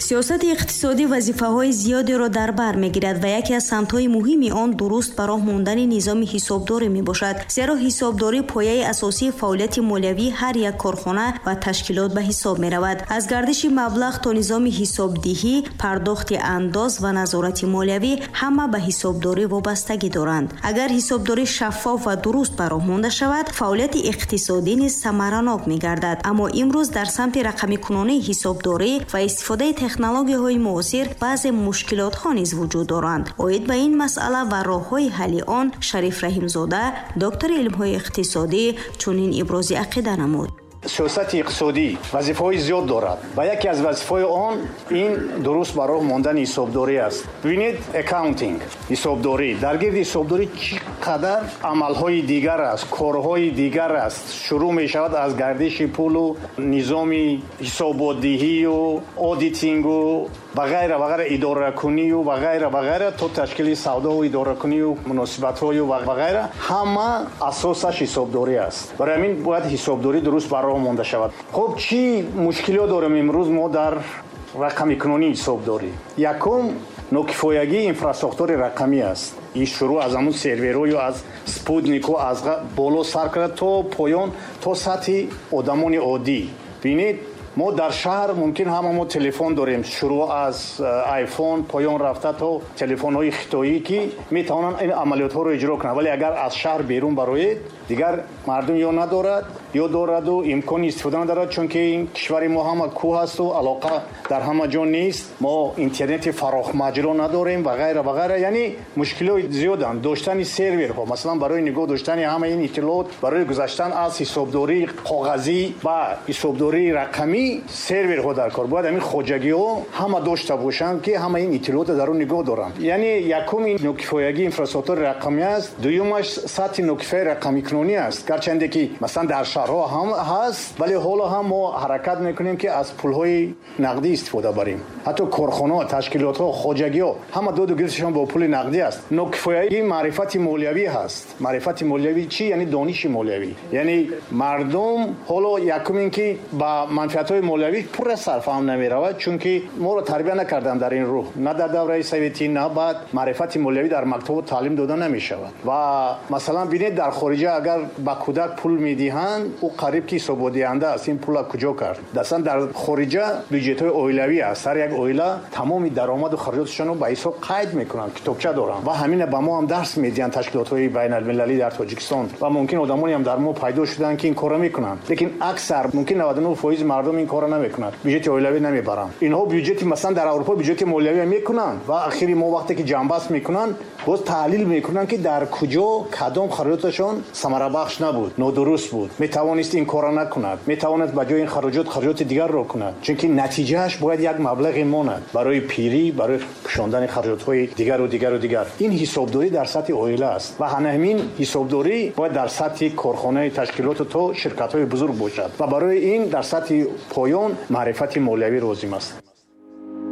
Сиёсати иқтисодӣ вазифаҳои зиёдеро дар бар мегирад ва яке аз самтҳои муҳими он дуруст ба роҳ мондани низоми ҳисобдорӣ мебошад, зеро ҳисобдорӣ пояи асосии фаъолияти молиявии ҳар як корхона ва ташкилот ба ҳисоб меравад. Аз гардиши маблағ то низоми ҳисобдиҳӣ, пардохти андоз ва назорати молиявӣ ҳама ба ҳисобдорӣ вобастагӣ доранд. Агар ҳисобдорӣ шаффоф ва дуруст ба роҳ монда шавад, фаъолияти иқтисодӣ низ самаранок мегардад. Аммо имрӯз дар самти рақамикунонии ҳисобдорӣ ва истифодаи технологияҳои муосир баъзе мушкилотҳо низ вуҷуд доранд. Оид ба ин масъала ва роҳҳои ҳалли он Шариф Раҳимзода, доктори илмҳои иқтисодӣ, чунин ибрози ақида намуд. Сиёсати иқтисодӣ вазифаҳои зиёд дорад ва яке аз вазифаҳои он ин дуруст ба роҳ мондани ҳисобдорӣ аст. Бибинед, accounting, ҳисобдорӣ. Дар гирди ҳисобдорӣ чӣ қадар амалҳои дигар аст, корҳои дигар аст. Шурӯъ мешавад аз гардиши пулу низоми ҳисоботдиҳию auditing у ва ғайра ва ғайра, идоракунию ва ғайра ва ғайра, то ташкили савдову идоракунию муносибатҳою ва ғайра, ҳама асосаш ҳисобдорӣ аст. Барои ҳамин бояд ҳисобдорӣ дуруст ба роҳ монда шавад. Хуб, чӣ мушкилиҳо дорем имрӯз мо дар рақамикунонии ҳисобдорӣ? Якум, нокифоягии инфрасохтори рақамӣ аст. Ин шурӯъ аз ҳамун серверҳою аз спутнику аз боло сар карда то поён, то сатҳи одамони оддӣ. Бинед, мо дар шаҳр мумкин ҳама мо телефон дорем, шурӯъ аз айфон поён рафта то телефонҳои хитоӣ, ки метавонанд ин амалиётҳоро иҷро кунанд. Вале агар аз шаҳр берун бароед, дигар мардум ё надорад, ё дораду имкони истифода надорад, чунки ин кишвари мо ҳама кӯҳ асту алоқа дар ҳама ҷо нест, мо интернети фарохмаҷро надорем ва ғайра ва ғайра. Яъне мушкилиҳои зиёданд. Доштани серверҳо, масалан, барои нигоҳ доштани ҳамаи ин иттилоот, барои гузаштан аз ҳисобдории коғазӣ ба ҳисобдории рақамӣ серверҳо дар кор. Бояд ҳамин хоҷагиҳо ҳама дошта бошанд, ки ҳама ин иттилоотро дар он нигоҳ доранд. Яъне якум ин нокифоягии инфрасохтори рақамӣ аст, дуюмаш сатҳи нокифояи рақамикунонӣ аст. Гарчанде ки масалан дар шаҳрҳо ҳам ҳаст, вале ҳоло ҳам мо ҳаракат мекунем, ки аз пулҳои нақдӣ истифода барем. Ҳатто корхонаҳо, ташкилотҳо, хоҷагиҳо ҳама доду гирифташон бо пули нақдӣ аст. Нокифоягии маърифати молиявӣ ҳаст. Маърифати молиявӣ чӣ? Яъне дониши молиявӣ. Яъне мардум ҳоло якум ин ки ба манфиатҳои молиявӣ пурра сарфаҳм намеравад, чунки моро тарбия накарданд дар ин рӯҳ, на дар давраи советӣ, на баъд маърифати молиявӣ дар мактабҳо таълим дода намешавад. Ва масалан бинед, дар хориҷа агар ба кӯдак пул медиҳанд, ӯ қариб ки ҳисоботдиҳанда аст, ин пула куҷо кард. Аслан дар хориҷа бюҷетҳои оилавӣ аст, ҳар як оила тамоми даромаду харҷоташонро ба ҳисоб қайд мекунанд, китобча доранд ва ҳамина ба мо ҳам дарс медиҳанд ташкилотҳои байналмилалӣ дар Тоҷикистон ва мумкин одамоне ҳам дар мо пайдо шуданд, ки ин корро мекунанд, лекин аксар, мумкин 99% мардум ин корро намекунанд, бюҷети оилавӣ намебаранд. Инҳо бюҷети, масалан, дар Аврупо бюҷети молиявӣ мекунанд ва ахири мо вақте ки ҷамъбаст мекунанд, боз таҳлил мекунанд, ки дар куҷо кадом харҷоташон самарабахш набуд, нодуруст буд, метавонист ин корро накунад, метавонад ба ҷои ин хароҷот хароҷоти дигарро кунад, чунки натиҷааш бояд як маблағе монад барои пирӣ, барои пӯшондани хароҷотҳои дигару дигару дигар. Ин ҳисобдорӣ дар сатҳи оила аст ва ҳамин ҳисобдорӣ бояд дар сатҳи корхонаи ташкилоту то ширкатҳои бузург бошад ва барои ин дар сатҳи поён маърифати молиявӣ лозим аст.